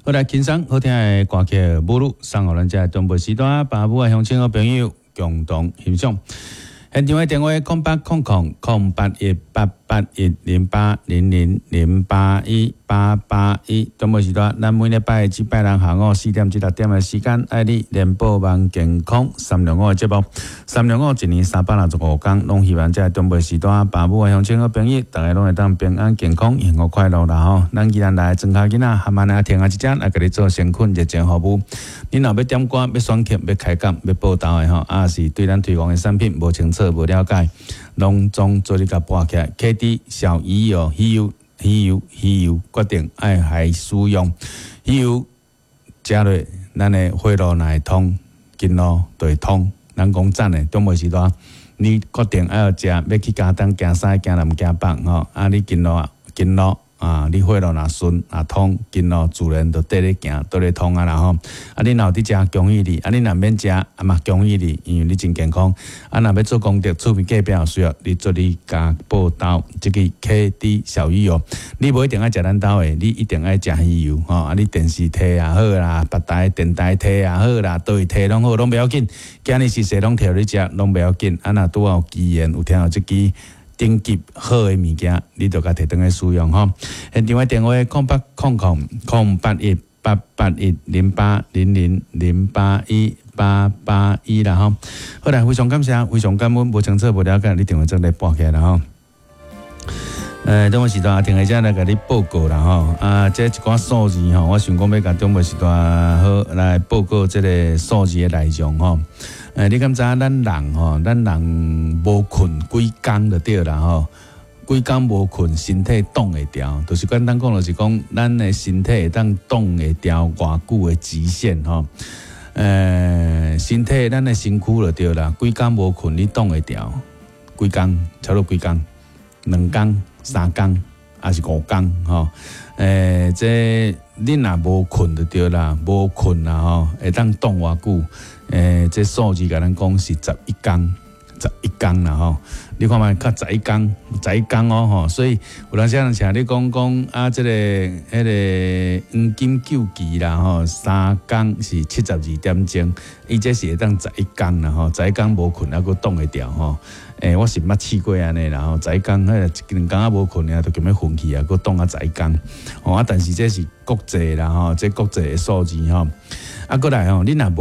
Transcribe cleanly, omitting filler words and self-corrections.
好來，輕鬆好聽的歌曲《母女》送予咱遮中部時段爸母的鄉親好朋友共同欣賞。現場的電話0800 008 1810 081 881。中部時段，咱每禮拜至拜六下午4點至6點的時間，愛你聯播網健康三六五的節目。三六五一年365天，攏希望遮中部時段爸母的鄉親好朋友，逐家攏會當平安健康、幸福快樂啦吼。咱宜蘭來莊跤囡仔，含慢來聽下一隻來共你做誠懇熱情服務。你若欲點歌、欲選曲、欲開講、欲報道的吼，抑是對咱推廣的產品無清楚、無了解，攏總做你共撥起來。KD 小魚油、魚油、魚油、魚油，決定愛來使用魚油，食落咱的血路若會通，經路就會通。咱講真的，中午時段你決定愛食，欲去加東行西行南行北吼，啊，你經路經路啊，你血路若順若通，經路自然就綴咧行，綴咧通啊啦吼。啊，你若有佇食，恭喜你；啊，你若免食，啊嘛恭喜你，因為你真健康。啊，若欲做功德，厝邊隔壁有需要，你做你共報道這個 KD 小魚油，你無一定愛食咱兜的，你一定愛食魚油吼。啊，你電視提也好啦，別台電台提也好啦，佗位提攏好，攏袂要緊。今日是勢攏提予你食，攏袂要緊。啊，若拄好有機緣，有聽著這支頂級好的物件，你就共提轉去使用吼。現場的電話0800 008 1810 081 881啦吼。好來，非常感謝，非常感恩，無清楚無了解，你電話做來撥起來啦吼。中午時段停下遮來共你報告啦吼。啊，這一寡數字吼，我想講欲共中午時段好來報告這個數字的內容吼。你敢知影咱人吼，咱人無睏幾工就對啦吼。幾工無睏，身體擋會牢，就是簡單講，就是講咱的身體會當擋會牢偌久的極限吼。身體咱的身軀就對啦，幾工無睏，你擋會牢？幾工？差不多幾工？2工、3工，抑是5工？吼？這你若無睏就對啦，無睏啦吼，會當擋偌久？這數字共咱講是十一工，十一工啦吼。你看覓，較十一工，十一工哦吼。所以有當時人請你講講啊，這個彼個黃金週期啦吼，3工是72點鐘，伊這是會當十一工啦吼，十一工無睏猶閣擋會牢吼。我是毋捌試過按呢啦吼，十一工彼個一兩工仔無睏爾，就欲昏去啊，閣擋啊十一工。吼啊，但是這是國際啦吼，這國際的數字吼。啊，閣來吼，你若無